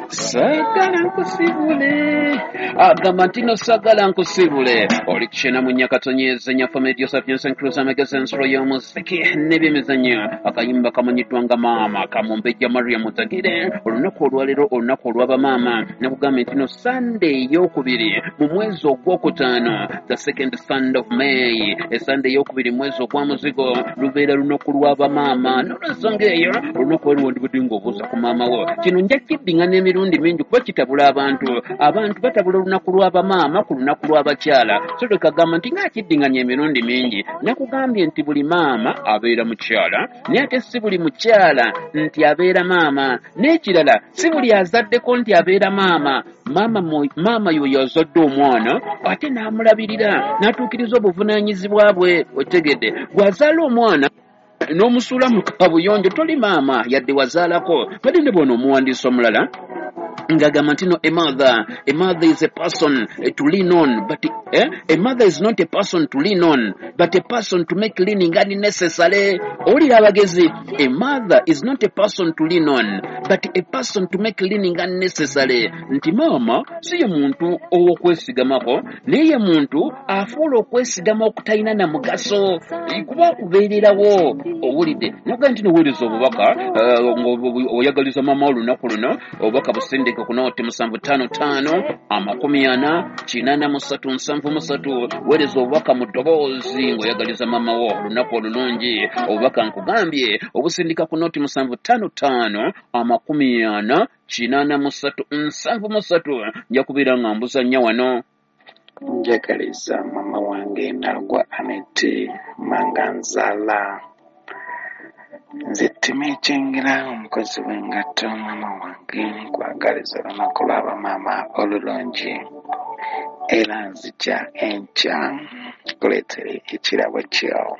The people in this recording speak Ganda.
Saagala nkusibule, agamba nti no saagala nkusibule. Oli kyena mu Nyakatonyeze nya Family Joseph Johnson Cruz, amagezi, ensolo y'omuziki n'ebyemizannyo. Akayimba kamanyiddwa nga Maama, kamumbejja Maria Mutagire. Olunaku olwaleero, olunaku olw'abamaama, nakugambye nti no Sande ey'okubiri mu mwezi ogwokutaano, the second Sunday of May, esande ey'okubiri mu mwezi ogwa muzigo, lubeera lunaku lw'abamaama. N'olwensonga eyo, olunaku olwo wandibadde ng'obuuza ku maama wo. Kino nja kiddingana emirundi mingi kuba kitabula abantu. Abantu batabula olunaku lw'abamaama ku lunaku lw'abakyala. So leka gamba nti ng'akiddinganya emirundi mingi. Nakugambye nti buli maama abeera mukyala, naye ate si buli mukyala nti abeera maama. N'ekirala, si buli azaddeko nti abeera maama. Maama yoyo azadde omwana ate n'amulabirira n'atuukiriza obuvunaanyizibwa bwe. Otegedde, bw'azaala omwana n'omusuula mu kabuyonjo, toli maama yadde wazaalako. Twalinde bw'ono omuwandiisi omulala ng'agamba nti no, a mother is a person to lean on, but a mother is not a person to lean on, but a person to make leaning unnecessary. Owulira abagezi: a mother is not a person to lean on, but a person to make leaning unnecessary. Nti maama si ye muntu ow'okwesigamako, naye ye muntu afuula okwesigama okutalina na mugaso, kuba akubeererawo. Owulidde, naga nti noweereza obubaka ng'oyagaliza maama olunaku luno. Obubaka busindike ku nooti 755 40 83 73. Weereza obubaka mu ddoboozi ng'oyagaliza maama wo olunaku olulungi. Obubaka nkugambye obusindika ku nooti 755 40 83 73. Nja kubeera nga mbuzannya wano. Njagaliza mama wange Nalugwa Anete Manganzala. Nze Timikyengera, omukozi w'engatto. Mama wange, nkwagaliza olunaku lw'abamaama olulungi, era nzija enkya nkuleetere ekirabo kyo.